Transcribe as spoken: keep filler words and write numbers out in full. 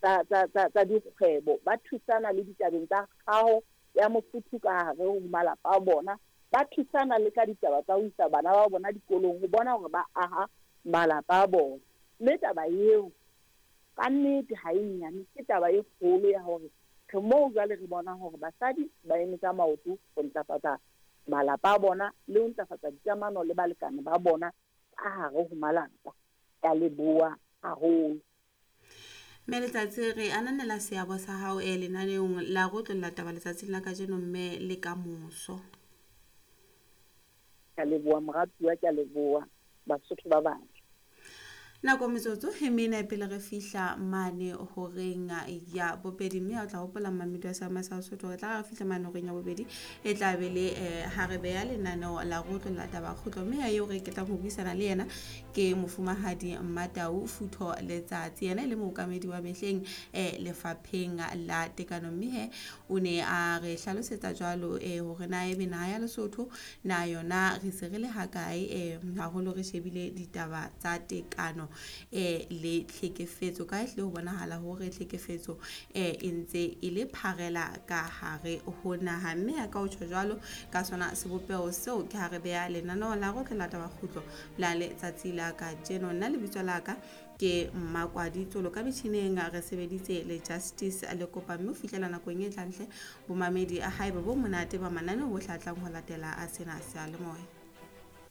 tsa tsa tsa tsa dikgwebo, ba thusana le ditabeng tsa kgaho ya mofuthu ka hare ho malapa a bona, ba thusana le ka ditaba tsa ho isa bana ba bona dikolong ho bona hore ba aha malapa a bona. Mme taba eo ka nnete ha e nyane, ke taba e kgolo ya hore re moo jwale re bona hore basadi ba eme ka maoto ho ntlafatsa malapa a bona le ho ntlafatsa dikamano le balekane ba bona ka hare ho malapa. Ke a leboha haholo. Mme Letsatsi, re ananela seabo sa hao e lenaneong la go tlolla taba letsatsing la kajeno mme le ka moso. Ke a leboha moratuwa, ke a leboha Basotho ba batle. Nako metsotso e mene pele re fihla mane horeng ya bobedi, mme o tla hopola mmamedi wa Seama sa Sesotho re tla re fihla mane horeng ya bobedi e tla be le eh, ha re beya lenaneo la go tlolla taba kgutlo, mme ya eo re ketlang ho buisana le yena ke mofumahadi Mmatau Futho Letsatsi, yena e le mookamedi wa mehleng eh, lefapheng la tekano, mme he o ne a re hlalosetsa jwalo eh, hore na ebe naha ya Lesotho na yona re se re le hakae eh, haholo re shebile ditaba tsa tekano eh le tlhekefetso, ka ehle ho bonahala hore tlhekefetso eh e ntse e le pharela ka hare ho naha, mme ha ka o tjho jwalo ka sona sebopeho seo ke ha re beha lenaneo la go tlola taba kgutlo la letsatsi la kajeno. Nna lebitso la ka ke Mmakwadi Tsolo, ka metjhineng re sebeditse le Justice le kopa, mme ho fihlela nakong e tlang hle bomamedi a haeba bo monate ba mananeo bohle a tlang ho latela a sena seyalemoya.